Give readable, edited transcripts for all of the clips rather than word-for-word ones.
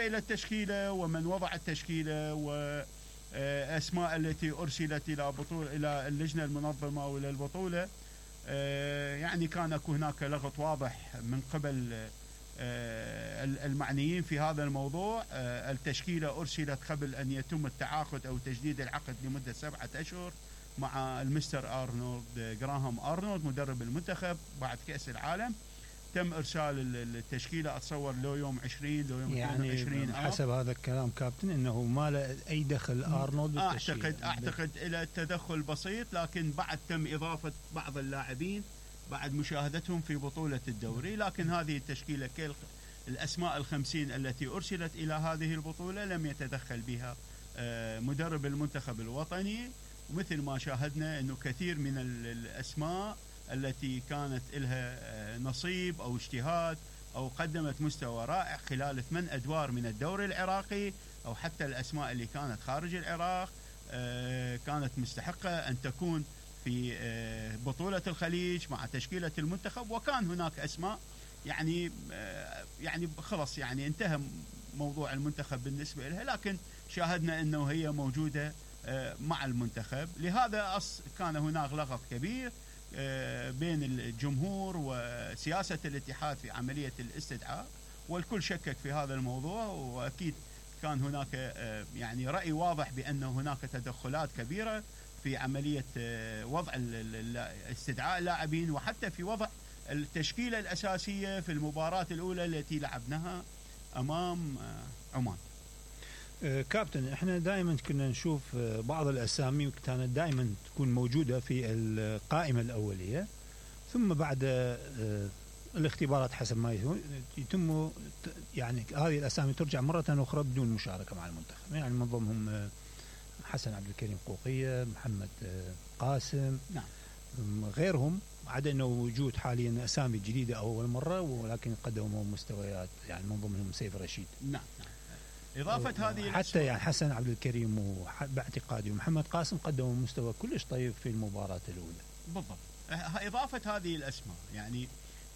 إلى التشكيلة ومن وضع التشكيلة وأسماء التي أرسلت إلى اللجنة المنظمة وإلى البطولة، يعني كان أكو هناك لغط واضح من قبل المعنيين في هذا الموضوع. التشكيلة أرسلت قبل أن يتم التعاقد أو تجديد العقد لمدة 7 أشهر مع المستر أرنولد جراهام أرنولد مدرب المنتخب بعد كأس العالم. تم إرسال التشكيلة أتصور لو يوم 20 لو يوم 22 يعني حسب هذا الكلام كابتن إنه ما له أي دخل أرنولد بالتشكيلة. أعتقد إلى التدخل بسيط، لكن بعد تم إضافة بعض اللاعبين بعد مشاهدتهم في بطولة الدوري. لكن هذه التشكيلة الأسماء 50 التي أرسلت إلى هذه البطولة لم يتدخل بها مدرب المنتخب الوطني. ومثل ما شاهدنا أنه كثير من الأسماء التي كانت لها نصيب أو اجتهاد أو قدمت مستوى رائع خلال 8 أدوار من الدوري العراقي، أو حتى الأسماء اللي كانت خارج العراق كانت مستحقة أن تكون في بطولة الخليج مع تشكيلة المنتخب. وكان هناك أسماء يعني خلص يعني انتهى موضوع المنتخب بالنسبة لها، لكن شاهدنا أنه هي موجودة مع المنتخب. لهذا كان هناك لغط كبير بين الجمهور وسياسة الاتحاد في عملية الاستدعاء، والكل شكك في هذا الموضوع. وأكيد كان هناك يعني رأي واضح بأن هناك تدخلات كبيرة في عملية وضع استدعاء اللاعبين، وحتى في وضع التشكيلة الأساسية في المباراة الأولى التي لعبناها أمام عمان. كابتن، احنا دائما كنا نشوف بعض الأسامي كانت دائما تكون موجودة في القائمة الأولية، ثم بعد الاختبارات حسب ما يتم يعني هذه الأسامي ترجع مرة أخرى بدون مشاركة مع المنتخب. يعني من ضمنهم حسن عبد الكريم قوقية، محمد قاسم، نعم، غيرهم، عدا أنه وجود حاليا أسامي جديدة أول مرة ولكن قدموا مستويات، يعني من ضمنهم سيف رشيد. نعم. إضافة هذه حتى يعني حسن عبد الكريم باعتقادي ومحمد قاسم قدموا مستوى كلش طيب في المباراة الأولى. بالضبط. إضافة هذه الأسماء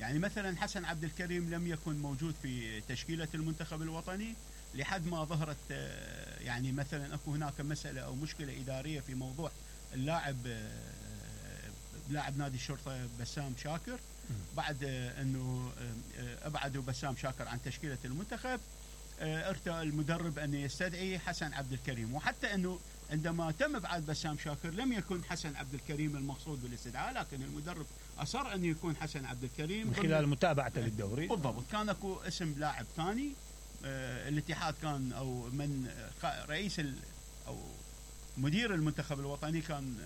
يعني مثلا حسن عبد الكريم لم يكن موجود في تشكيلة المنتخب الوطني لحد ما ظهرت يعني مثلا أكو هناك مسألة أو مشكلة إدارية في موضوع لاعب نادي الشرطة بسام شاكر. بعد أنه أبعدوا بسام شاكر عن تشكيلة المنتخب، ارتأى المدرب أن يستدعي حسن عبد الكريم. وحتى أنه عندما تم إبعاد بسام شاكر لم يكن حسن عبد الكريم المقصود بالاستدعاء، لكن المدرب أصر أن يكون حسن عبد الكريم من خلال متابعته للدوري. بالضبط. كان أكو اسم لاعب ثاني، الاتحاد كان أو من رئيس أو مدير المنتخب الوطني كان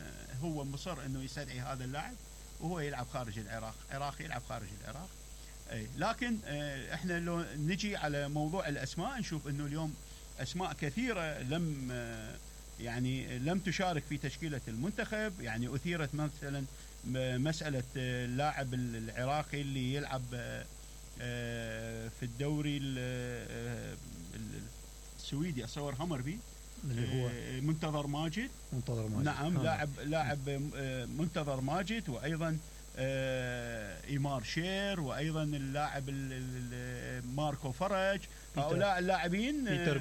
هو مصر أنه يستدعي هذا اللاعب، وهو يلعب خارج العراق، عراقي يلعب خارج العراق. لكن احنا لو نجي على موضوع الأسماء نشوف أنه اليوم أسماء كثيرة لم تشارك في تشكيلة المنتخب. يعني أثيرت مثلا مسألة اللاعب العراقي اللي يلعب في الدوري السويدي أصور همربي، اللي هو منتظر ماجد. نعم، لاعب منتظر ماجد، وأيضا إيمار شير، وأيضا اللاعب ماركو فرج. هؤلاء اللاعبين بيتر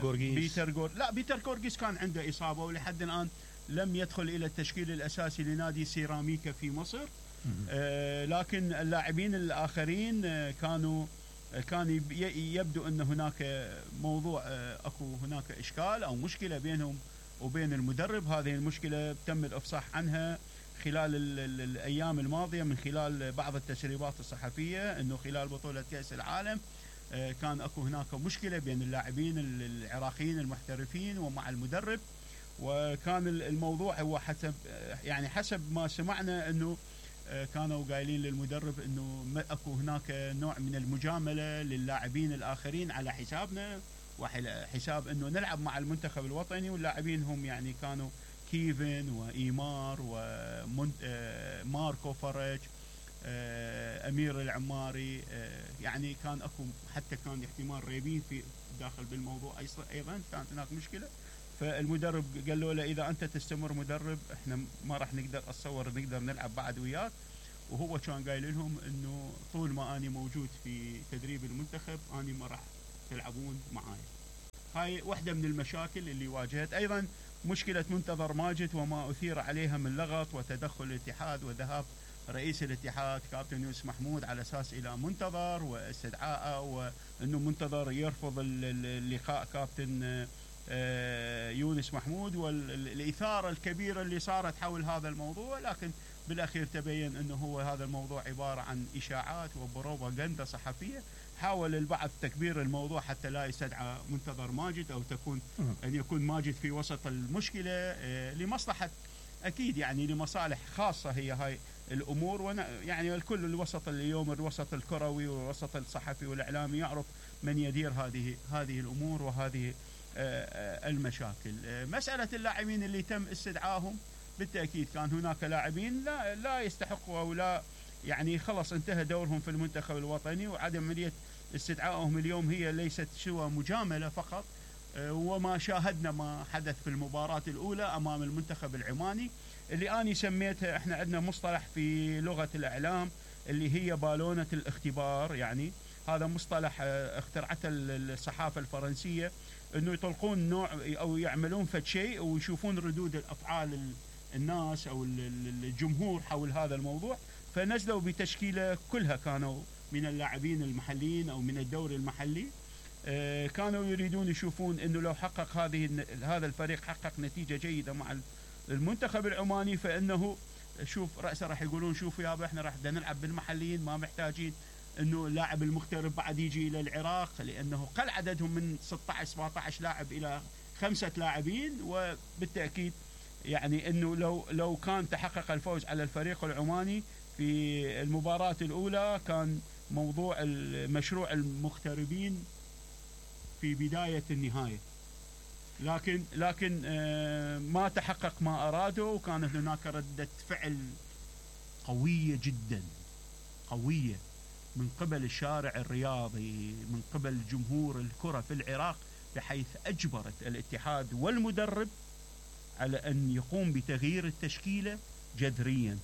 غورغيس كان عنده إصابة ولحد الآن لم يدخل إلى التشكيل الأساسي لنادي سيراميكا في مصر. لكن اللاعبين الآخرين كان يبدو أن هناك موضوع أكو هناك إشكال أو مشكلة بينهم وبين المدرب. هذه المشكلة تم الإفصاح عنها خلال الأيام الماضية من خلال بعض التسريبات الصحفية، أنه خلال بطولة كأس العالم كان أكو هناك مشكلة بين اللاعبين العراقيين المحترفين ومع المدرب. وكان الموضوع هو حسب ما سمعنا أنه كانوا قايلين للمدرب أنه أكو هناك نوع من المجاملة للاعبين الآخرين على حسابنا وحساب أنه نلعب مع المنتخب الوطني. واللاعبين هم يعني كانوا كيفن وإيمار وماركو فرج، أمير العماري. يعني كان أكو حتى كان احتمال ريبين في داخل بالموضوع أيضا كانت هناك مشكلة. فالمدرب قال له إذا أنت تستمر مدرب احنا ما راح نقدر نلعب بعد وياك. وهو كان قايل لهم انه طول ما اني موجود في تدريب المنتخب اني ما راح تلعبون معاي. هاي واحدة من المشاكل اللي واجهت. أيضا مشكلة منتظر ماجد وما أثير عليها من لغط وتدخل الاتحاد وذهاب رئيس الاتحاد كابتن يونس محمود على أساس إلى منتظر واستدعائه، وأنه منتظر يرفض اللقاء كابتن يونس محمود، والإثارة الكبيرة اللي صارت حول هذا الموضوع. لكن بالأخير تبين أنه هو هذا الموضوع عبارة عن إشاعات وبروباغندا صحفية. حاول البعض تكبير الموضوع حتى لا يستدعى منتظر ماجد أو أن يكون ماجد في وسط المشكلة لمصلحة، أكيد يعني لمصالح خاصة هي هاي الأمور. يعني الكل الوسط اليوم، الوسط الكروي والوسط الصحفي والإعلامي يعرف من يدير هذه الأمور وهذه المشاكل. مسألة اللاعبين اللي تم استدعائهم، بالتأكيد كان هناك لاعبين لا يستحقوا أو لا يعني خلص انتهى دورهم في المنتخب الوطني، وعدم عملية استدعائهم اليوم هي ليست سوى مجاملة فقط. وما شاهدنا ما حدث في المباراة الأولى أمام المنتخب العماني اللي أنا سميتها، احنا عندنا مصطلح في لغة الإعلام اللي هي بالونة الاختبار. يعني هذا مصطلح اخترعته الصحافة الفرنسية، انه يطلقون نوع او يعملون فد شيء ويشوفون ردود الافعال الناس او الجمهور حول هذا الموضوع، فنزلوا بتشكيله كلها كانوا من اللاعبين المحليين او من الدوري المحلي. كانوا يريدون يشوفون انه لو حقق هذا الفريق حقق نتيجه جيده مع المنتخب العماني، فانه شوف رأسه راح يقولون شوفوا يابا احنا راح نلعب بالمحليين، ما محتاجين انه اللاعب المغترب بعد يجي الى العراق، لانه قل عددهم من 16 17 لاعب الى 5 لاعبين. وبالتاكيد يعني انه لو كان تحقق الفوز على الفريق العماني في المباراة الاولى كان موضوع مشروع المغتربين في بداية النهاية، لكن ما تحقق ما أرادوا، وكانت هناك ردة فعل قوية جدا قوية من قبل الشارع الرياضي، من قبل جمهور الكرة في العراق، بحيث أجبرت الاتحاد والمدرب على أن يقوم بتغيير التشكيلة جذريا.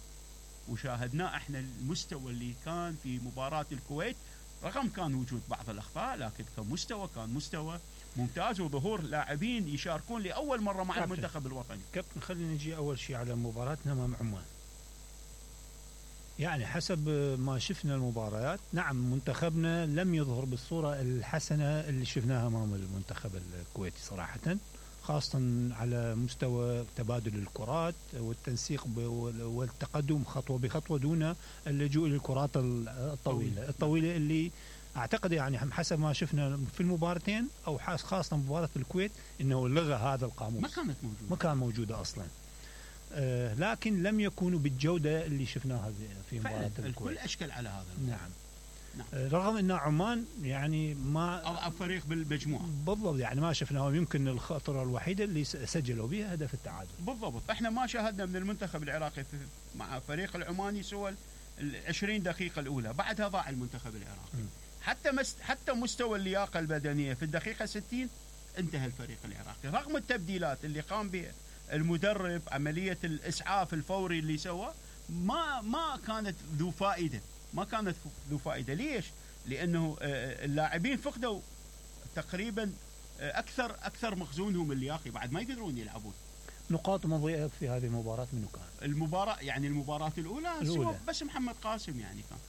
وشاهدنا احنا المستوى اللي كان في مباراة الكويت، رغم كان وجود بعض الأخطاء لكن كمستوى كان مستوى ممتاز، وظهور لاعبين يشاركون لأول مرة مع المنتخب الوطني. كابتن خلينا نجي أول شيء على مباراتنا مع عمان. يعني حسب ما شفنا المباريات، نعم منتخبنا لم يظهر بالصورة الحسنة اللي شفناها أمام المنتخب الكويتي صراحة، خاصة على مستوى تبادل الكرات والتنسيق والتقدم خطوة بخطوة دون اللجوء للكرات الطويلة اللي أعتقد يعني حسب ما شفنا في المباراتين أو خاصة مباراة الكويت إنه لغى هذا القاموس، ما كان موجودة أصلا. لكن لم يكونوا بالجودة اللي شفناها في مباراة الكويت. الكل أشكل على هذا الموضوع. نعم. رغم أن عمان يعني ما أضعف فريق بالمجموعة بالضبط، يعني ما شفناهم، يمكن الخطرة الوحيدة اللي سجلوا بها هدف التعادل. بالضبط، احنا ما شاهدنا من المنتخب العراقي مع فريق العماني سوى 20 دقيقة الأولى، بعدها ضاع المنتخب العراقي. حتى مستوى اللياقة البدنية في الدقيقة 60 انتهى الفريق العراقي، رغم التبديلات اللي قام بها المدرب، عملية الإسعاف الفوري اللي سوى، ما كانت ذو فائدة. ليش؟ لأنه اللاعبين فقدوا تقريبا أكثر مخزونهم اللياقي، بعد ما يقدرون يلعبون. نقاط مضيئة في هذه المباراة منو كان؟ المباراة الأولى بس محمد قاسم، يعني كان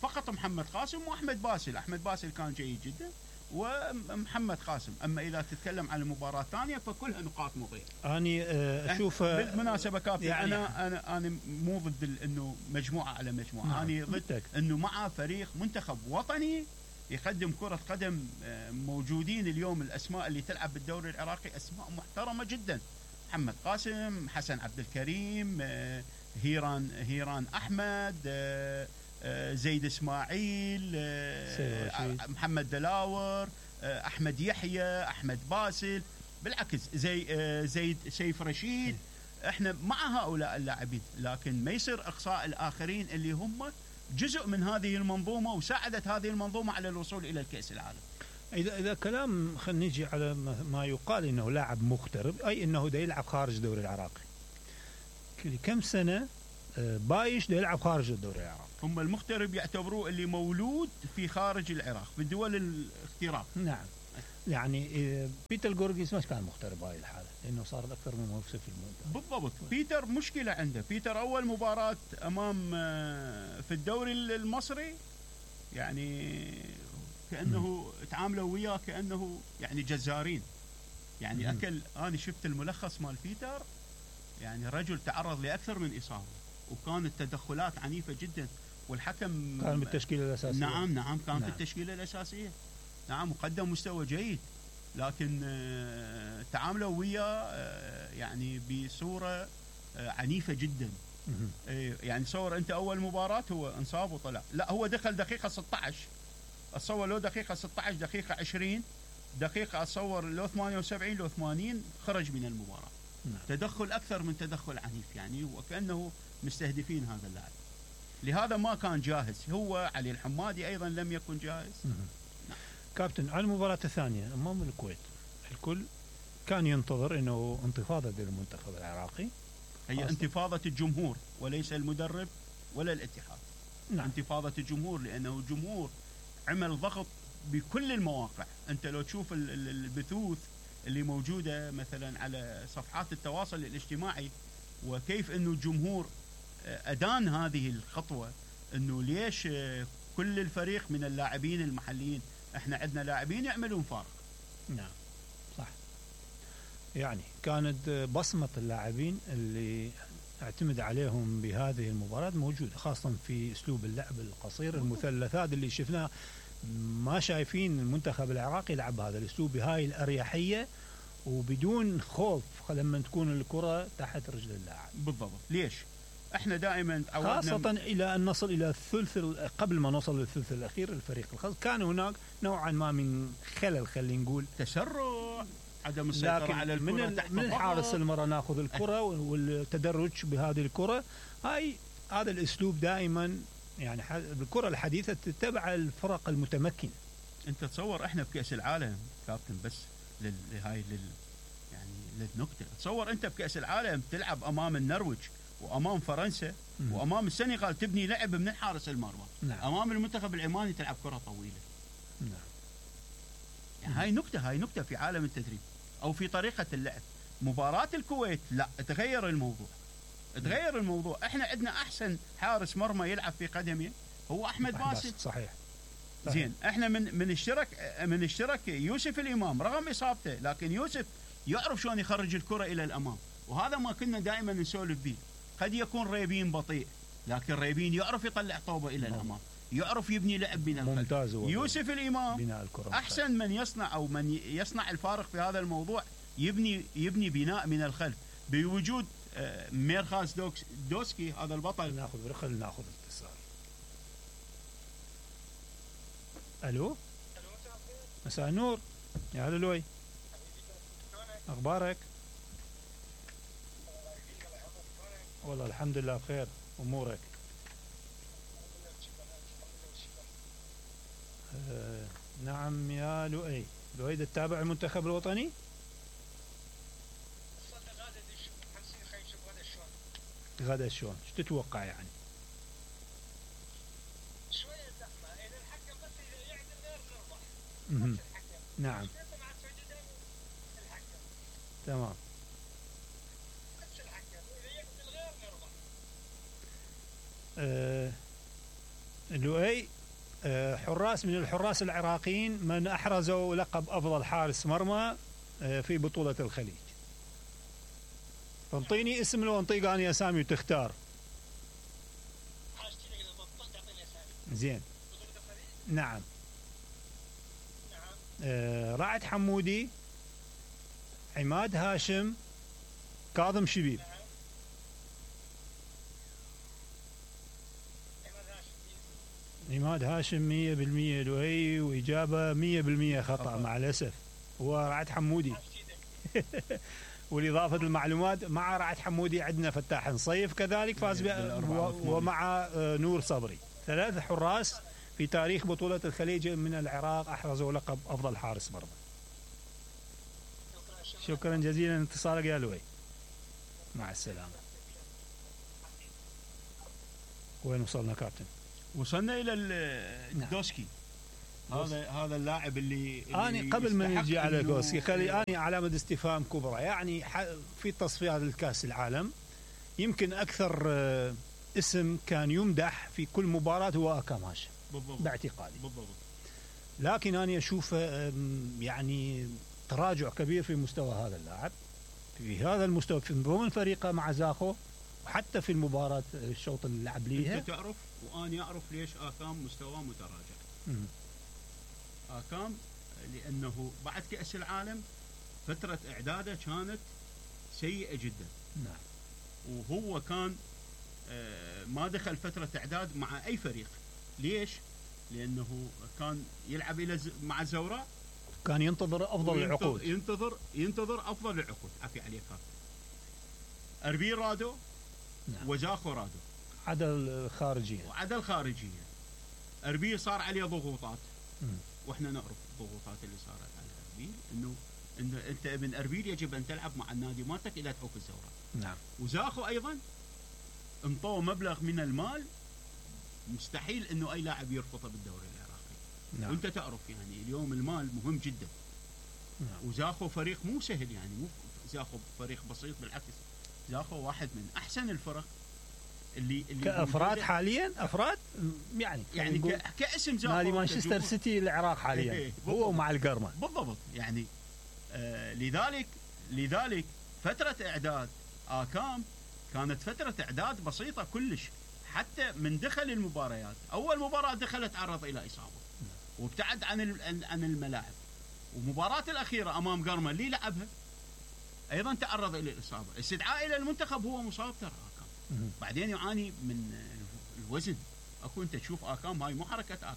فقط محمد قاسم وأحمد باسل. أحمد باسل كان جيد جدا ومحمد قاسم. أما إذا تتكلم عن المباراة الثانية فكلها نقاط مضيئة. أنا أشوف بالمناسبة كابتن يعني أنا مو ضد إنه مجموعة على مجموعة، أنا ضد إنه مع فريق منتخب وطني يقدم كرة قدم. موجودين اليوم الأسماء اللي تلعب بالدوري العراقي أسماء محترمة جدا، محمد قاسم، حسن عبد الكريم، هيران أحمد، زيد إسماعيل، محمد دلاور، أحمد يحيى، أحمد باسل، بالعكس زيد سيف رشيد. احنا مع هؤلاء اللاعبين، لكن ما يصير إقصاء الآخرين اللي هم جزء من هذه المنظومة وساعدت هذه المنظومة على الوصول إلى الكأس العالم. إذا كلام خلينا نجي على ما يقال إنه لاعب مغترب، أي إنه دا يلعب خارج الدوري العراقي. كم سنة بايش دا يلعب خارج الدوري العراقي. هم المغترب يعتبروه اللي مولود في خارج العراق، في دول الاغتراب. نعم. يعني بيتر جورجيس ما كان مغترب بهاي الحاله لانه صار اكثر من موسم في المنتخب. بالضبط. بيتر مشكله عنده. بيتر اول مباراه امام في الدوري المصري يعني كانه تعاملوا وياه كانه يعني جزارين يعني اكل. انا شفت الملخص مال بيتر يعني رجل تعرض لاكثر من اصابه وكانت تدخلات عنيفه جدا والحكم كان بالتشكيله الاساسيه. نعم كان في التشكيله الاساسيه. نعم وقدم مستوى جيد لكن تعاملوا وياه يعني بصوره عنيفه جدا. يعني تصور انت اول مباراه هو انصاب وطلع. لا هو دخل دقيقه 16 اتصور لو دقيقه 16 دقيقه 20 دقيقه اتصور لو 78 لو 80 خرج من المباراه. تدخل اكثر من تدخل عنيف يعني وكانه مستهدفين هذا اللاعب. لهذا ما كان جاهز. هو علي الحمادي ايضا لم يكن جاهز. كابتن على المباراة الثانية أمام الكويت الكل كان ينتظر أنه انتفاضة للمنتخب العراقي. هي انتفاضة الجمهور وليس المدرب ولا الاتحاد. نعم. انتفاضة الجمهور لأنه الجمهور عمل ضغط بكل المواقع. أنت لو تشوف البثوث اللي موجودة مثلا على صفحات التواصل الاجتماعي وكيف أنه الجمهور أدان هذه الخطوة أنه ليش كل الفريق من اللاعبين المحليين. احنا عندنا لاعبين يعملون فارق. نعم صح. يعني كانت بصمة اللاعبين اللي اعتمد عليهم بهذه المباراة موجودة خاصة في اسلوب اللعب القصير المثلثات اللي شفناه. ما شايفين المنتخب العراقي يلعب بهذا الاسلوب بهاي الاريحية وبدون خوف لما تكون الكرة تحت رجل اللاعب. بالضبط. ليش؟ احنا دائما خاصة إلى أن نصل إلى الثلث قبل ما نوصل للثلث الأخير الفريق الخاص كان هناك نوعا ما من خلل خلينا نقول تسرع عدم السيطرة على الكرة من الحارس المرة ناخذ الكرة والتدرج بهذه الكرة. هذا الأسلوب دائما يعني بالكرة الحديثة تتبع الفرق المتمكنة. أنت تصور إحنا بكأس العالم كابتن بس يعني للنكتة. تصور أنت بكأس العالم تلعب أمام النرويج وأمام فرنسا وأمام السنغال تبني لعب من حارس المرمى. نعم. أمام المنتخب العماني تلعب كرة طويلة. نعم. يعني هاي نكتة في عالم التدريب أو في طريقة اللعب. مباراة الكويت لا تغير الموضوع. احنا عندنا أحسن حارس مرمى يلعب في قدمه هو أحمد باسل. صحيح. زين احنا من اشترك يوسف الإمام رغم إصابته لكن يوسف يعرف شلون يخرج الكرة إلى الأمام وهذا ما كنا دائما نسولف به. قد يكون ريبين بطيء لكن ريبين يعرف يطلع طوبة إلى الأمام يعرف يبني لعب من الخلف. يوسف الإمام أحسن من يصنع أو من يصنع الفارق في هذا الموضوع. يبني بناء من الخلف بوجود ميرخاس دوسكي هذا البطل. ناخذ اتصال. ألو مساء النور يا هلا لوي أخبارك؟ والله الحمد لله بخير. أمورك؟ نعم يا لؤي. لؤي تتابع المنتخب الوطني؟ غدا شلون؟ شو تتوقع يعني؟ شوية زحمة إذا الحكم بس يعدل غير نربح. نعم. تمام. بس الحكم إذا يعدل غير نربح. لؤي حراس من الحراس العراقيين من أحرزوا لقب أفضل حارس مرمى في بطولة الخليج. انطيني اسم لو انطيك أنا أسامي وتختار. زين. نعم. رعد حمودي عماد هاشم كاظم شبيب. عماد هاشم 100% لؤي وإجابة 100% خطأ مع الأسف. هو رعد حمودي. والإضافة المعلومات مع رعد حمودي عندنا فتاح نصيف كذلك فاز ومع نور صبري. 3 حراس في تاريخ بطولة الخليج من العراق أحرزوا لقب أفضل حارس مرمى. شكرا جزيلا اتصالك يا لؤي. مع السلامة. وين وصلنا كابتن؟ وصلنا إلى الدوسكي. هذا اللاعب اللي أنا قبل ما يستحق نجي على إنه- غوسي خلي أنا علامة استفهام كبرى. يعني في تصفيات الكأس العالم يمكن أكثر اسم كان يمدح في كل مباراة هو أكاماش بالضبط باعتقادي. بالضبط. لكن أنا أشوف يعني تراجع كبير في مستوى هذا اللاعب في هذا المستوى في ضمن فريقه مع زاخو، وحتى في المباراة الشوط اللي لعب ليها. انت تعرف وأنا أعرف ليش آكام مستواه متراجع. مم. آكام لأنه بعد كأس العالم فترة إعداده كانت سيئة جدا، نعم. وهو كان ما دخل فترة إعداد مع أي فريق. ليش؟ لأنه كان يلعب مع الزوراء، كان ينتظر أفضل العقود. ينتظر أفضل العقود. عفي عليك هذا أربيل رادو، نعم. وزاخو رادو، عدل خارجيا. وعدل خارجية. أربيل صار عليه ضغوطات، مم. واحنا نعرف الضغوطات اللي صارت على أربيل، انه انت ابن أربيل يجب ان تلعب مع النادي مالتك الى تحوك الزوراء. نعم. وزاخو ايضا انطوه مبلغ من المال مستحيل انه اي لاعب يرفضه بالدوري العراقي. نعم. وانت تعرف يعني اليوم المال مهم جدا. نعم. وزاخو فريق مو سهل، يعني مو زاخو فريق بسيط، بالعكس زاخو واحد من احسن الفرق اللي كأفراد حاليا أفراد يعني كاسم زاخو نادي مانشستر سيتي العراق حاليا هو مع القرمة بالضبط. يعني لذلك فترة إعداد آكام كانت فترة إعداد بسيطة كلش. حتى من دخل المباريات، أول مباراة دخلت تعرض إلى إصابة وابتعد عن الملاعب، ومباراة الأخيرة أمام قرمة اللي لعبها أيضا تعرض إلى الإصابة. استدعاء إلى المنتخب هو مصاب ترى آكام، بعدين يعاني من الوزن. أكو أنت تشوف آكام، هاي مو حركة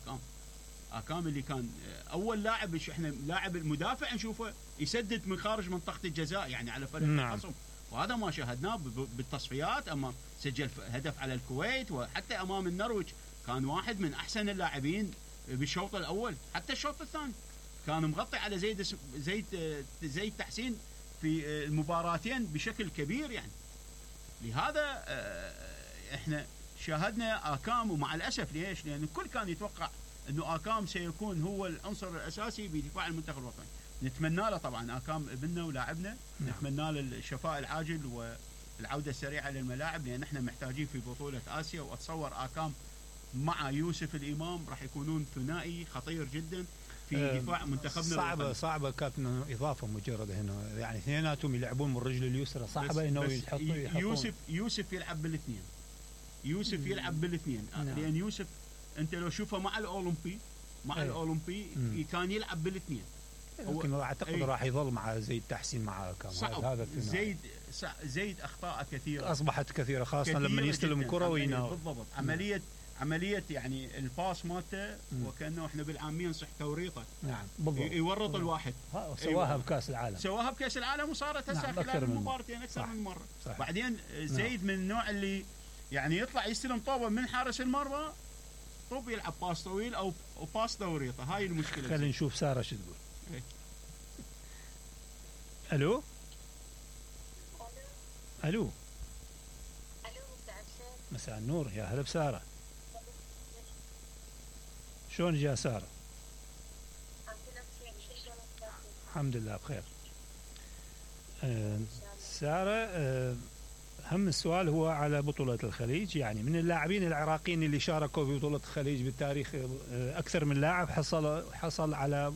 آكام اللي كان أول لاعب احنا لاعب المدافع نشوفه يسدد من خارج منطقة الجزاء يعني على فريق الخصم. وهذا ما شاهدناه بالتصفيات. أمام سجل هدف على الكويت، وحتى أمام النرويج كان واحد من أحسن اللاعبين بالشوط الأول. حتى الشوط الثاني كان مغطي على زيد تحسين في المباراتين بشكل كبير. يعني لهذا احنا شاهدنا آكام، ومع الأسف ليش؟ لأن الكل كان يتوقع أنه آكام سيكون هو العنصر الأساسي بدفاع المنتخب الوطني. نتمنى له طبعا، آكام ابننا ولاعبنا، نتمنى له الشفاء العاجل والعودة السريعة للملاعب، لأن احنا محتاجين في بطولة آسيا. وأتصور آكام مع يوسف الإمام راح يكونون ثنائي خطير جدا في دفاع منتخبنا. صعبة كابتن إضافة مجرد هنا، يعني اثنيناتهم يلعبون من الرجل اليسرى، صعبة إنه يحطون. يوسف يلعب بالاثنين. يلعب بالاثنين. لأن يوسف أنت لو شوفه مع الأولمبي كان يلعب بالاثنين. لكن أعتقد راح يظل مع زيد تحسين مع كام. هذا زيد أخطاء كثيرة أصبحت كثيرة، خاصة لما يستلم كرة ويناول. بالضبط. عملية يعني الباس مالته وكأنه احنا بالعامية نصح توريطه. نعم بالضبط. يورط الواحد. سواها بكأس العالم. وصارت هسه خلال مباراتين أكثر من مرة. بعدين زيد من النوع اللي يعني يطلع يستلم طوبة من حارس المرمى، طوب يلعب باس طويل أو باس توريطه. هاي المشكلة. خلينا نشوف سارة شو تقول. ألو. مساء النور، يا هلا بسارة. شلون جاء سارة؟ الحمد لله بخير. سارة، أهم السؤال هو على بطولة الخليج. يعني من اللاعبين العراقيين اللي شاركوا في بطولة الخليج بالتاريخ أكثر من لاعب حصل على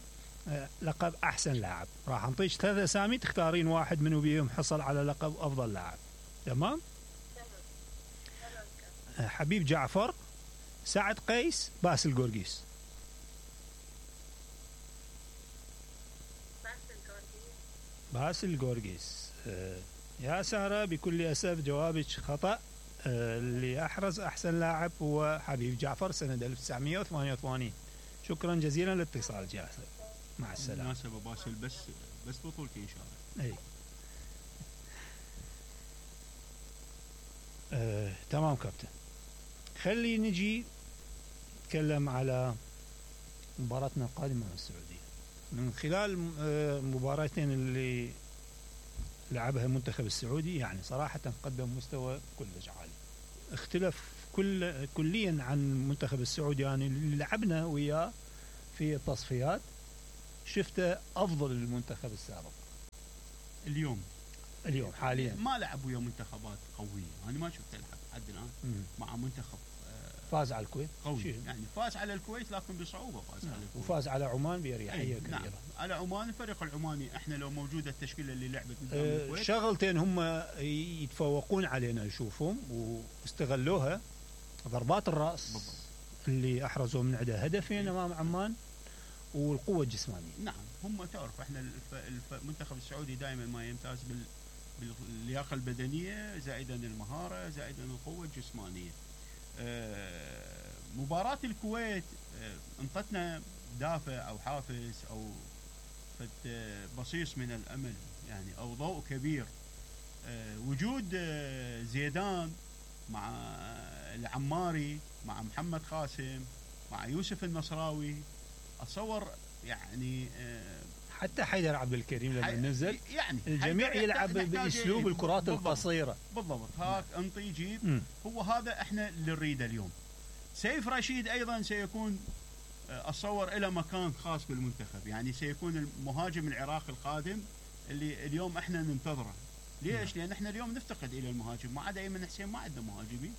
لقب أحسن لاعب. راح نعطيك 3 أسامي تختارين واحد منو بيهم حصل على لقب أفضل لاعب. تمام؟ حبيب جعفر، سعد قيس، باسل قورقيس. باسل قورقيس. يا سارة، بكل أسف جوابك خطأ. اللي أحرز أحسن لاعب هو حبيب جعفر سنة 1988. شكرا جزيلا لاتصال جاسر. مع السلامة. مناسبة باسل بس بطولتي إن شاء الله. تمام كابتن. خلي نجي نتكلم على مباراتنا القادمة مع السعودية. من خلال مباراتين اللي لعبها المنتخب السعودي، يعني صراحة قدم مستوى كلش عالي، اختلف كليا عن المنتخب السعودي يعني اللي لعبنا وياه في التصفيات شفته افضل المنتخب السابق اليوم حاليا. ما لعب ويا منتخبات قويه، انا ما شفت يلعب لحد الان مع منتخب فاز على الكويت قوي، يعني فاز على الكويت لكن بصعوبه فاز على الكويت، وفاز على عمان باريحيه كبيره. نعم. على عمان الفريق العماني احنا لو موجوده التشكيله اللي لعبت قدام الكويت، شغلتين هم يتفوقون علينا نشوفهم واستغلوها، ضربات الراس بالضبط. اللي احرزوا من عندها هدفين امام عمان، والقوه الجسمانيه. نعم هم تعرف احنا المنتخب السعودي دائما ما يمتاز باللياقه البدنيه زائدا المهاره زائدا القوه الجسمانيه. مباراة الكويت انطتنا دافع او حافز او بصيص من الامل يعني او ضوء كبير. وجود زيدان مع العماري مع محمد قاسم مع يوسف النصراوي، اتصور يعني حتى حيدر عبد الكريم لما نزل يعني الجميع يلعب باسلوب الكرات القصيره. بالضبط هاك انطي جيب. هو هذا احنا اللي نريده اليوم. سيف رشيد ايضا سيكون اتصور له مكان خاص بالمنتخب، يعني سيكون المهاجم العراقي القادم اللي اليوم احنا ننتظره. ليش؟ لان احنا اليوم نفتقد الى المهاجم، ما عدا ايمن حسين ما عندنا مهاجمين،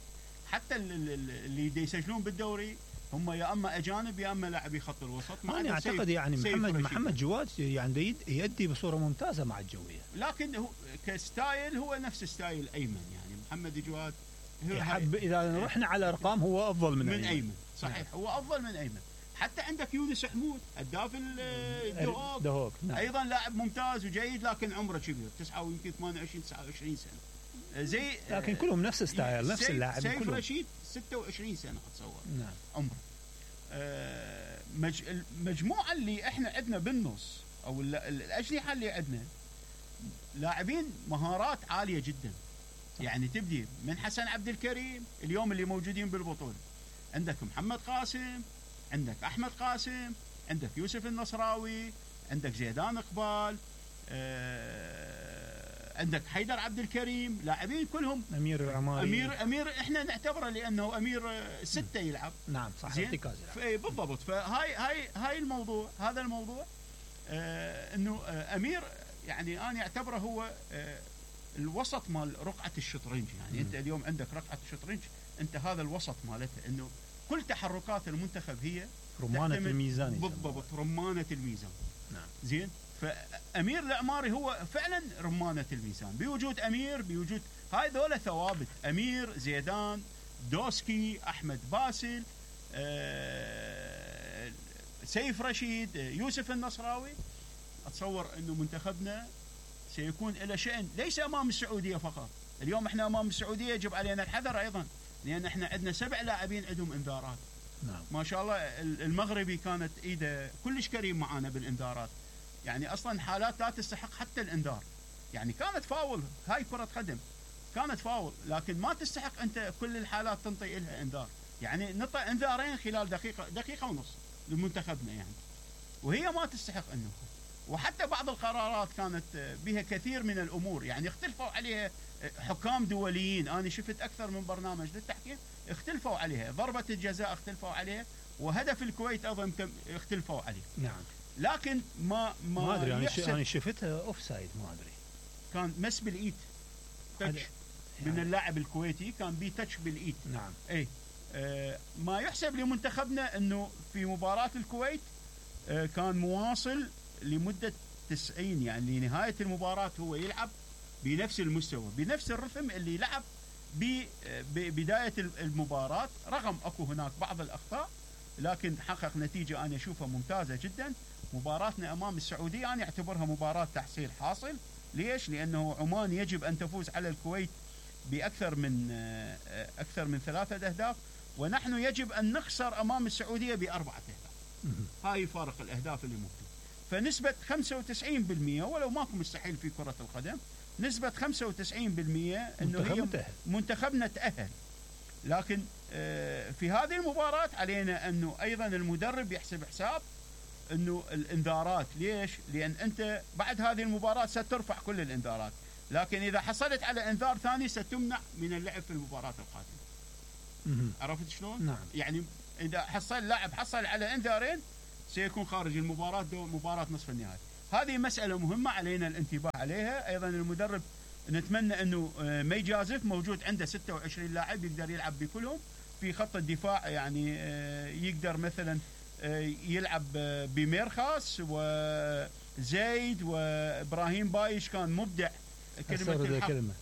حتى اللي يسجلون بالدوري هم يا اما اجانب يا اما لاعبي خط الوسط. انا اعتقد يعني محمد جواد يعني يؤدي بصوره ممتازه مع الجويه، لكن هو كستايل هو نفس ستايل ايمن، يعني محمد جواد اذا رحنا على ارقام هو افضل من ايمن. صحيح هو افضل من ايمن. حتى عندك يونس حمود هداف الدهوك ايضا لاعب ممتاز وجيد، لكن عمره كبير 29 سنه زي، لكن كلهم نفس ستايل نفس اللاعب. سيف رشيد 26 سنه اتصور عمره. المجموعه اللي احنا عندنا بالنص او الاجنحه اللي عندنا لاعبين مهارات عاليه جدا، يعني تبدي من حسن عبد الكريم اليوم اللي موجودين بالبطوله، عندك محمد قاسم، عندك احمد قاسم، عندك يوسف النصراوي، عندك زيدان اقبال، عندك حيدر عبد الكريم، لاعبين كلهم. امير العماري، امير احنا نعتبره لانه امير 6 يلعب. نعم صح ارتكاز يلعب. بالضبط. فهاي الموضوع، هذا الموضوع انه امير يعني انا اعتبره هو الوسط مال رقعه الشطرنج، يعني انت اليوم عندك رقعه الشطرنج، انت هذا الوسط مالته، انه كل تحركات المنتخب هي رمانه الميزان. بالضبط رمانه الميزان. نعم زين. فامير العماري هو فعلا رمانه الميزان، بوجود امير، بوجود هاي ذولا ثوابت، امير، زيدان، دوسكي، احمد باسل، سيف رشيد، يوسف النصراوي. اتصور انه منتخبنا سيكون له شأن ليس امام السعوديه فقط. اليوم احنا امام السعوديه يجب علينا الحذر ايضا، لان احنا عندنا 7 لاعبين عندهم انذارات. نعم. ما شاء الله المغربي كانت ايده كلش كريم معانا بالانذارات، يعني اصلا حالات لا تستحق حتى الانذار، يعني كانت فاول، هاي كرة قدم كانت فاول، لكن ما تستحق انت كل الحالات تنطي لها انذار، يعني نطى انذارين خلال دقيقة ونص لمنتخبنا يعني، وهي ما تستحق انه. وحتى بعض القرارات كانت بها كثير من الامور، يعني اختلفوا عليها حكام دوليين، انا شفت اكثر من برنامج للتحكيم اختلفوا عليها، ضربة الجزاء اختلفوا عليها، وهدف الكويت ايضا اختلفوا عليه. نعم. لكن ما ادري، انا شفتها اوف سايد، ما ادري، كان مس بالايد، تاتش من اللاعب الكويتي، كان بي تاتش بالايد. نعم. اي ما يحسب لمنتخبنا انه في مباراة الكويت كان مواصل لمدة 90، يعني لنهاية المباراة هو يلعب بنفس المستوى بنفس الرتم اللي لعب ببداية المباراة، رغم اكو هناك بعض الاخطاء، لكن حقق نتيجة انا اشوفها ممتازة جدا. مباراتنا امام السعودية انا اعتبرها مباراة تحصيل حاصل. ليش؟ لانه عمان يجب ان تفوز على الكويت باكثر من 3 أهداف، ونحن يجب ان نخسر امام السعودية ب4 أهداف. هاي فارق الاهداف اللي موجود. فنسبة 95%، ولو ماكو مستحيل في كرة القدم، نسبة 95% انه هي منتخبنا تأهل. لكن في هذه المباراة علينا انه ايضا المدرب يحسب حساب انه الانذارات. ليش؟ لان انت بعد هذه المباراة سترفع كل الانذارات، لكن اذا حصلت على انذار ثاني ستمنع من اللعب في المباراة القادمة. عرفت شلون؟ نعم. يعني اذا لاعب حصل على انذارين سيكون خارج المباراة مباراة نصف النهائي. هذه مسألة مهمة علينا الانتباه عليها. أيضا المدرب نتمنى أنه ما يجازف، موجود عنده 26 لاعب يقدر يلعب بكلهم. في خط الدفاع يعني يقدر مثلا يلعب بميرخاس وزيد وإبراهيم بايش، كان مبدع.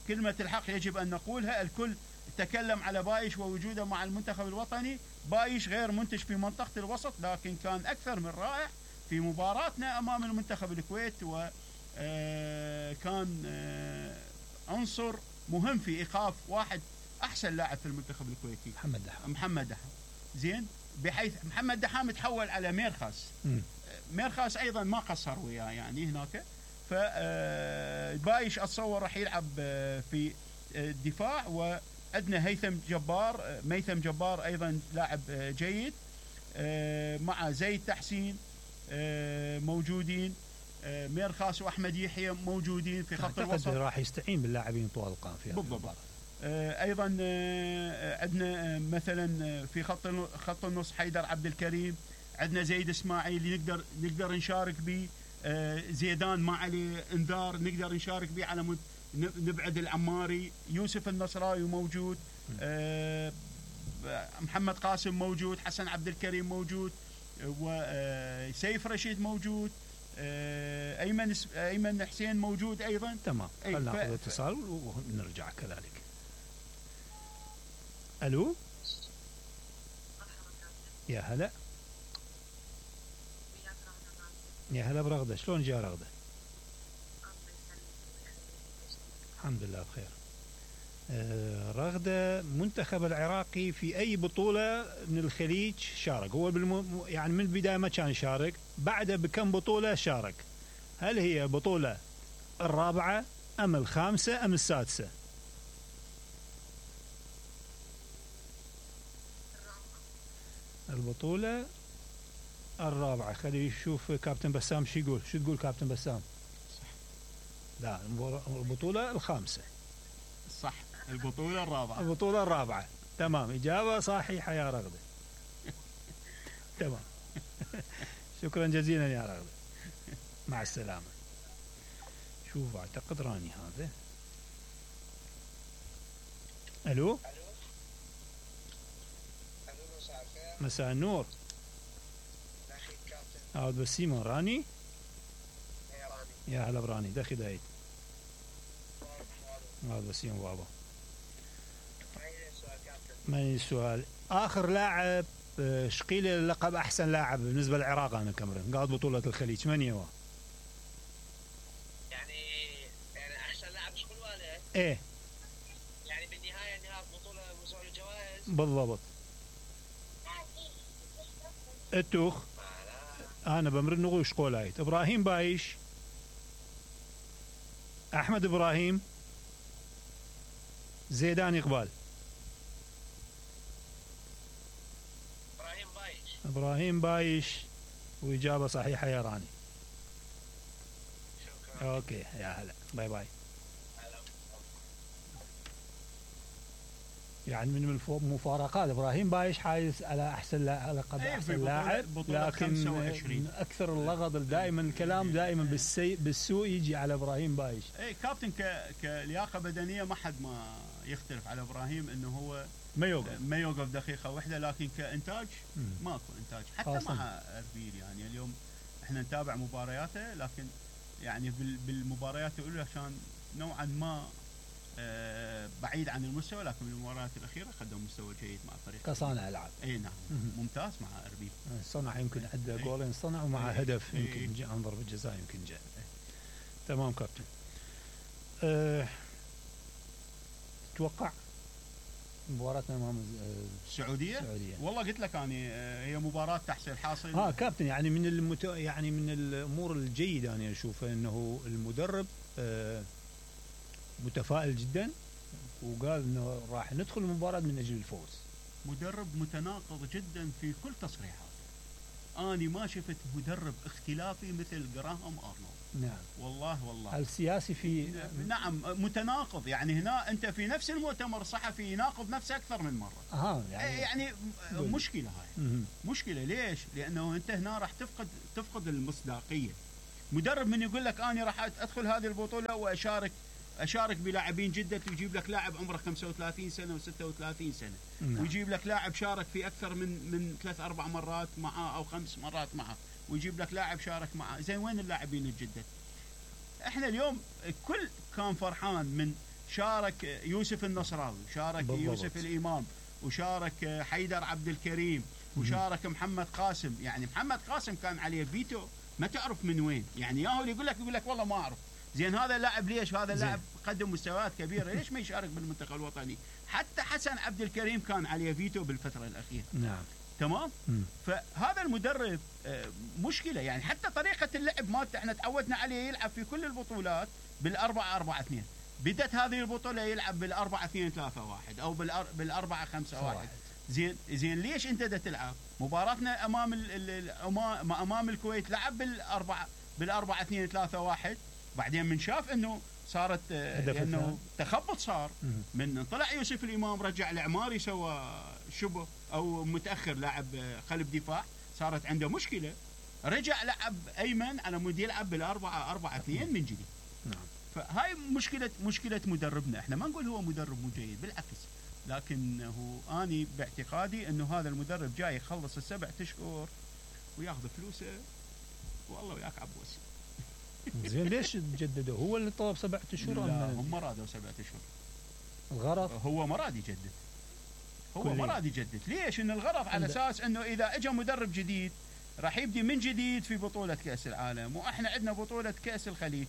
كلمة الحق يجب أن نقولها. الكل تكلم على بايش ووجوده مع المنتخب الوطني. بايش غير منتج في منطقة الوسط، لكن كان أكثر من رائع في مباراتنا أمام المنتخب الكويت، وكان عنصر مهم في إيقاف واحد أحسن لاعب في المنتخب الكويتي، محمد دحام. زين، بحيث محمد دحام تحول على ميرخاس. ميرخاس أيضا ما قصر وياه يعني هناك. فبايش أتصور راح يلعب في الدفاع، وعندنا ميثم جبار أيضا لاعب جيد، مع زيد تحسين موجودين، ميرخاس وأحمد يحيى موجودين في خط الوسط. راح يستعين باللاعبين طوال القائمة في بالضبط. أيضا عندنا مثلا في خط النص حيدر عبد الكريم، عندنا زيد إسماعيل نقدر نشارك به، زيدان ما عليه انذار نقدر نشارك به على نبعد العماري، يوسف النصراوي موجود، محمد قاسم موجود، حسن عبد الكريم موجود، وسيف رشيد موجود، أيمن حسين موجود أيضا. تمام، خلنا ناخذ اتصال ونرجع كذلك. ألو، يا هلا. يا هلا برغدة، شلون جاء رغدة؟ الحمد لله بخير. رغدة، منتخب العراقي في أي بطولة من الخليج شارك؟ هو يعني من البداية ما كان يشارك، بعده بكم بطولة شارك؟ هل هي بطولة الرابعة أم الخامسة أم السادسة؟ البطولة الرابعة. خلي يشوف كابتن بسام شو يقول. شو تقول كابتن بسام؟ صح. لا، البطولة الخامسة. صح، البطولة الرابعة. البطولة الرابعة، تمام، إجابة صحيحة يا رغدة. تمام. شكرا جزيلا يا رغدة، مع السلامة. شوف أعتقد راني هذا. ألو، مساء النور. هذا بسيمون راني. يا هلا براني، دخي دايد. هذا بسيمون بابا. ما السؤال؟ آخر لاعب شقيل لقب أحسن لاعب بالنسبة للعراق أنا كمرن قاعد بطولة الخليج، من هو؟ يعني أحسن لاعب شقيل ولا؟ إيه. يعني بالنهاية نهاية بطولة موسوعة الجوائز. بالضبط. التوخ. أنا بمرن نغوش قولايت. إبراهيم بايش، أحمد إبراهيم، زيدان إقبال. إبراهيم بايش، وإجابة صحيحة يا راني. شكرا. أوكي يا هلا، باي باي. يعني من المفارقات إبراهيم بايش حايز على أحسن لقب أحسن لاعب، لكن من أكثر اللغط دائما الكلام دائما بالسوء يجي على إبراهيم بايش. إيه كابتن كلياقة بدنية ما حد ما يختلف على إبراهيم إنه هو ما يوقف دقيقة واحدة، لكن كإنتاج ماكو إنتاج حتى مع أربيل. يعني اليوم إحنا نتابع مبارياته، لكن يعني بالمباريات الأولى كان نوعا ما بعيد عن المستوى، لكن بالمباريات الأخيرة قدم مستوى جيد مع فريق كصانع ألعاب. أي نعم، ممتاز مع أربيل. صنع يمكن عنده جولين صنع، ومع هدف يمكن جاء عن ضربة جزاء يمكن جاء. تمام كابتن. تتوقع مباراتنا امام السعوديه؟ والله قلت لك انا هي مباراه تحصيل حاصل. كابتن، يعني من الامور الجيده انا اشوفها انه المدرب متفائل جدا، وقال انه راح ندخل المباراه من اجل الفوز. مدرب متناقض جدا في كل تصريحاته. اني ما شفت مدرب اختلافي مثل جراهام ارنولد. نعم. والله السياسي في نعم متناقض. يعني هنا انت في نفس المؤتمر الصحفي يناقض نفسه اكثر من مره. يعني مشكله هاي. مشكله ليش؟ لانه انت هنا راح تفقد المصداقيه. مدرب من يقول لك اني راح ادخل هذه البطوله واشارك بلاعبين جدد، ويجيب لك لاعب عمره 35 سنه و36 سنه. ويجيب لك لاعب شارك في اكثر من 3-4 مرات معه او 5 مرات معه، ويجيب لك لاعب شارك معه. زين وين اللاعبين الجدد؟ احنا اليوم كل كان فرحان من شارك يوسف النصراوي، شارك بالضبط. يوسف الامام، وشارك حيدر عبد الكريم، وشارك محمد قاسم. يعني محمد قاسم كان عليه فيتو ما تعرف من وين. يعني ياهو اللي يقول لك والله ما اعرف. زين هذا اللاعب ليش؟ هذا اللاعب قدم مستويات كبيره، ليش ما يشارك بالمنتخب الوطني؟ حتى حسن عبد الكريم كان عليه فيتو بالفتره الاخيره. نعم تمام. فهذا المدرب مشكله. يعني حتى طريقه اللعب مالته احنا تعودنا عليه يلعب في كل البطولات بال4-4-2. بدت هذه البطوله يلعب بال4-2-3-1 او بال4-5-1. زين ليش انت دا تلعب؟ مباراتنا امام الكويت لعب بال4-2-3-1. بعدين من شاف انه صارت لانه تخبط صار من طلع يوسف الامام، رجع العماري سوى شبه او متاخر لاعب قلب دفاع، صارت عنده مشكله، رجع لعب ايمن على مود يلعب بال4-4-2 من جديد. نعم. فهاي مشكله مدربنا. احنا ما نقول هو مدرب مو جيد، بالعكس، لكنه اني باعتقادي انه هذا المدرب جاي يخلص ال7 اشهر وياخذ فلوسه والله وياك عبوس. زين ليش جددوا؟ هو اللي طلب 7 اشهر؟ لا هم رادوا 7 اشهر. الغرض هو ما راد يجدد. ما راد يجدد. ليش؟ ان الغرض على اساس انه اذا اجى مدرب جديد راح يبدي من جديد في بطوله كاس العالم، واحنا عندنا بطوله كاس الخليج،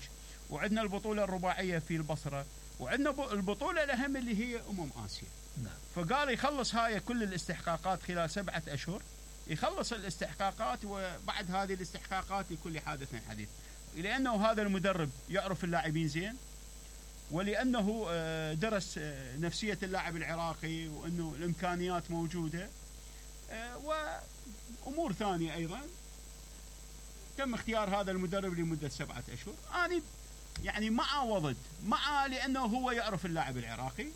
وعندنا البطوله الرباعيه في البصره، وعندنا البطوله الاهم اللي هي اسيا. نعم. فقال يخلص هاي كل الاستحقاقات خلال 7 اشهر، يخلص الاستحقاقات، وبعد هذه الاستحقاقات لكل حادث حديث. لأنه هذا المدرب يعرف اللاعبين زين، ولأنه درس نفسية اللاعب العراقي، وأنه الإمكانيات موجودة، وأمور ثانية أيضا. تم اختيار هذا المدرب لمدة 7 أشهر. أنا يعني مع وضد مع، لأنه هو يعرف اللاعب العراقي.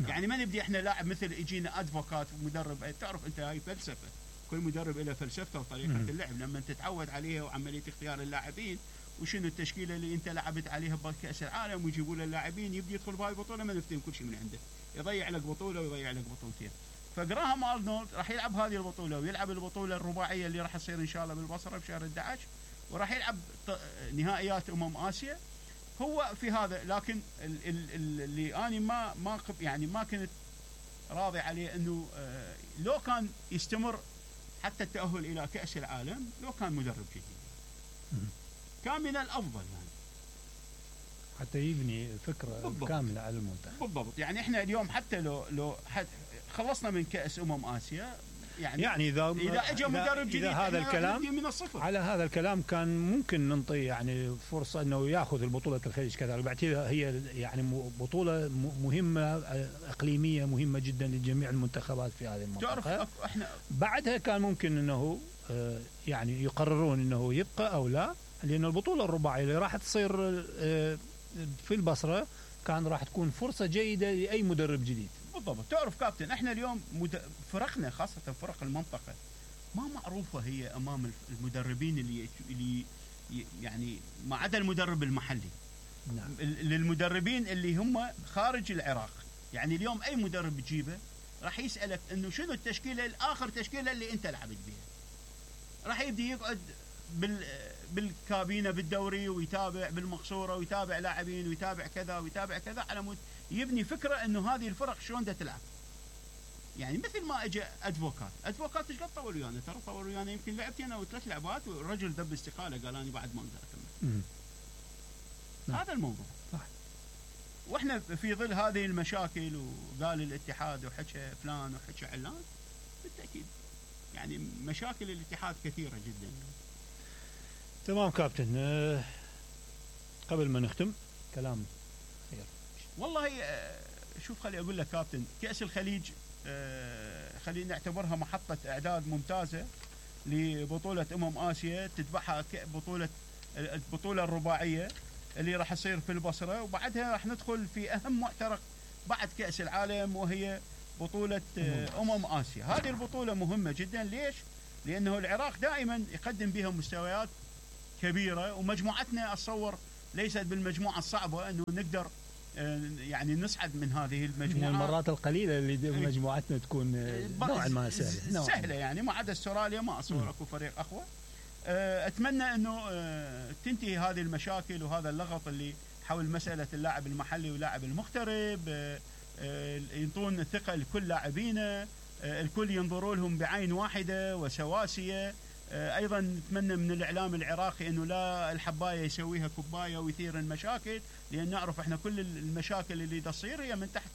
يعني ما نبدي احنا لاعب مثل يجينا ادفوكات ومدرب. تعرف انت هاي فلسفة، كل مدرب له فلسفته وطريقة اللعب. لما تتعود عليها وعملية اختيار اللاعبين وشنو التشكيله اللي انت لعبت عليها بكاس العالم، ويجيبوا له اللاعبين يبدي يدخل بهاي البطوله ما نفتهم كل شيء من عنده، يضيع لك بطوله ويضيع لك بطولتين. فجراهام ارنولد راح يلعب هذه البطوله، ويلعب البطوله الرباعيه اللي راح تصير ان شاء الله بالبصره بشهر 11، وراح يلعب نهائيات اسيا. هو في هذا، لكن اللي انا ما كنت راضي عليه انه لو كان يستمر حتى التاهل الى كاس العالم، لو كان مدرب جديد كان من الافضل، يعني حتى يبني فكره بالضبط. كامله على المنتخب. بالضبط. يعني احنا اليوم حتى لو خلصنا من كاس اسيا، يعني اذا اجى مدرب جديد هذا الكلام من الصفر. على هذا الكلام كان ممكن ننطي يعني فرصه انه ياخذ البطوله الخليج كذلك. بعتبرها هي يعني بطوله مهمه اقليميه مهمه جدا لجميع المنتخبات في هذه المنطقه. احنا بعدها كان ممكن انه يعني يقررون انه يبقى او لا، لأن البطولة الرباعية اللي راح تصير في البصرة كان راح تكون فرصة جيدة لأي مدرب جديد. بالضبط. تعرف كابتن، احنا اليوم فرقنا خاصة فرق المنطقة ما معروفة هي أمام المدربين اللي يعني ما عدا المدرب المحلي. نعم. للمدربين اللي هم خارج العراق، يعني اليوم أي مدرب تجيبه راح يسألك إنه شنو التشكيلة الآخر تشكيلة اللي أنت لعبت بها. راح يبدي يقعد بالكابينة بالدوري ويتابع بالمقصورة ويتابع لاعبين ويتابع كذا ويتابع كذا على مود يبني فكرة انه هذه الفرق شلون دا تلعب. يعني مثل ما اجى ادفوكات ايش قد طول ويانا؟ ترى طول ويانا يمكن لعبتين او 3 لعبات والرجل دب استقالة، قال انا بعد ما اقدر اكمل. هذا الموضوع صح. واحنا في ظل هذه المشاكل وقال الاتحاد وحكى فلان وحكى علان، بالتأكيد يعني مشاكل الاتحاد كثيرة جدا. تمام كابتن، قبل ما نختم كلام خير. والله شوف خلي أقول لك كابتن، كأس الخليج خلينا نعتبرها محطة إعداد ممتازة لبطوله اسيا تتبعها البطوله الرباعيه اللي راح تصير في البصره، وبعدها راح ندخل في اهم معترك بعد كاس العالم وهي بطوله اسيا. هذه البطوله مهمه جدا. ليش؟ لانه العراق دائما يقدم بها مستويات كبيره، ومجموعتنا اتصور ليست بالمجموعه الصعبه انه نقدر يعني نصعد من هذه المجموعه. من المرات القليله اللي مجموعتنا تكون نوعا ما سهله يعني، ما عدا استراليا ما اتصور اكو فريق اقوى. اتمنى انه تنتهي هذه المشاكل وهذا اللغط اللي حول مساله اللاعب المحلي واللاعب المغترب، ينطون الثقه لكل لاعبينا، الكل ينظروا لهم بعين واحده وسواسيه. ايضا نتمنى من الاعلام العراقي انه لا الحبايه يسويها كوبايه ويثير المشاكل، لان نعرف احنا كل المشاكل اللي تصير هي من تحت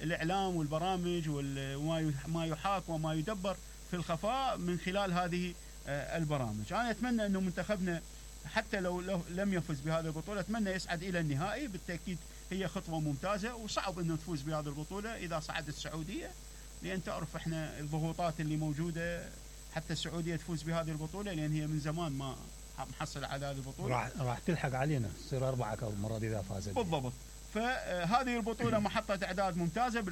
الاعلام والبرامج وما يحاك وما يدبر في الخفاء من خلال هذه البرامج. انا اتمنى انه منتخبنا حتى لو لم يفز بهذه البطوله اتمنى يصعد الى النهائي. بالتاكيد هي خطوه ممتازه، وصعب انه تفوز بهذه البطوله اذا صعدت السعوديه، لان تعرف احنا الضغوطات اللي موجوده حتى السعوديه تفوز بهذه البطوله، لان هي من زمان ما محصل على هذه البطوله. راح تلحق علينا تصير 4 المره دي اذا فازت. بالضبط. فهذه البطوله محطه اعداد ممتازه،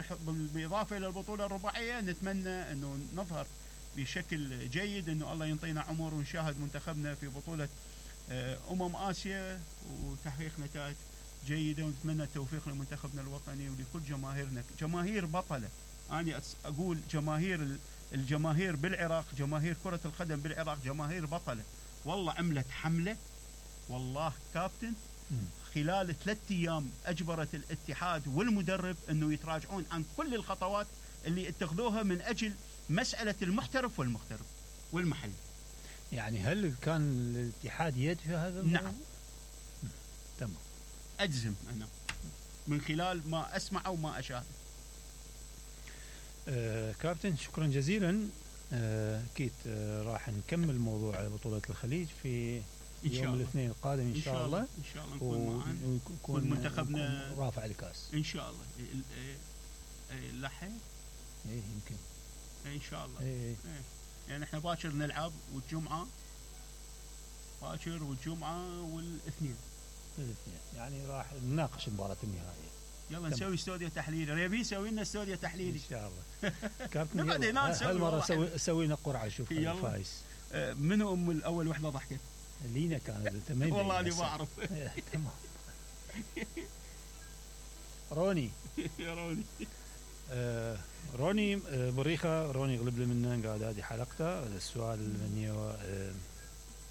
بالاضافه الى البطوله الرباعيه نتمنى انه نظهر بشكل جيد، انه الله ينطينا عمر ونشاهد منتخبنا في بطوله اسيا وتحقيق نتائج جيده، ونتمنى التوفيق لمنتخبنا الوطني ولكل جماهيرنا، جماهير بطله. انا اقول الجماهير بالعراق، جماهير كره القدم بالعراق جماهير بطله، والله عملت حمله والله كابتن خلال 3 أيام اجبرت الاتحاد والمدرب انه يتراجعون عن كل الخطوات اللي اتخذوها من اجل مساله المحترف والمغترب والمحلي. يعني هل كان الاتحاد يد في هذا الموضوع؟ نعم. تمام. اجزم انا من خلال ما اسمع وما اشاهد. كابتن شكرا جزيلا. اكيد راح نكمل موضوع بطولة الخليج في يوم الاثنين القادم ان شاء الله. ان شاء الله نكون معاً ويكون منتخبنا رافع الكاس ان شاء الله. لحق يمكن ان شاء الله. يعني احنا باكر نلعب، والجمعه باكر والجمعه والاثنين يعني راح نناقش مباراة النهائية. يلا نسوي استوديو تحليلي. ريبي يسوي لنا استوديو تحليلي ان شاء الله. كابتن هالمره سوي لنا قرعه شوف الفايز. منو اول وحده ضحكت؟ لينا كانت والله انا ما اعرف. تمام. روني يا روني. روني بريخه. روني غلب لي منه قاعد هذه حلقته. السؤال من هو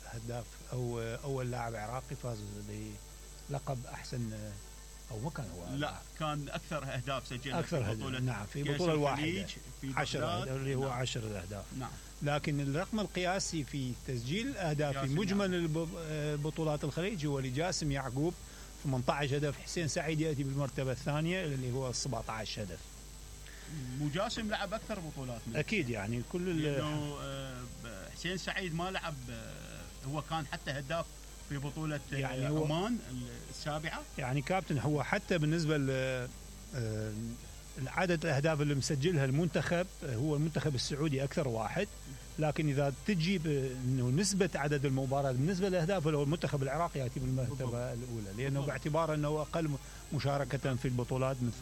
هداف او اول لاعب عراقي فاز بلقب احسن، او ما كان هو؟ لا كان اكثر اهداف سجلها اكثر في بطوله. نعم في بطوله واحده 10 اللي هو 10 اهداف. نعم. لكن الرقم القياسي في تسجيل الاهداف في مجمل بطولات الخليج هو لجاسم يعقوب 18 هدف. حسين سعيد ياتي بالمرتبه الثانيه اللي هو 17 هدف. وجاسم لعب اكثر بطولات منه. اكيد يعني كل لانه حسين سعيد ما لعب، هو كان حتى هداف في بطولة يعني عمان السابعة. يعني كابتن هو حتى بالنسبة لعدد الأهداف اللي مسجلها المنتخب هو المنتخب السعودي أكثر واحد، لكن إذا تجيب إنه نسبة عدد المباريات بالنسبة للأهداف هو المنتخب العراقي يأتي بالمرتبة الأولى، لأنه باعتبار أنه أقل مشاركة في البطولات من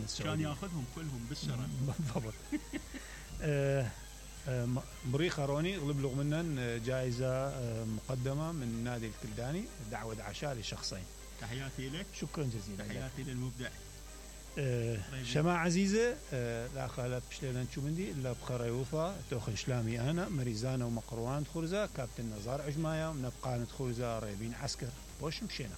السعودية. كان يأخذهم كلهم بالسرعة. بالضبط. بريخة روني غلب له منن جائزة مقدمة من نادي الكلداني، دعوة عشاء لشخصين. تحياتي لك. شكرا جزيلا. تحياتي للمبدع. شماعة عزيزة لا خالف بشليلان شومندي إلا بخير يوفى توخن شلامي أنا مريزانة ومقروان خرزة كابتن نزار عجماية ونبقى ندخرزة ريبين عسكر وش مشينا.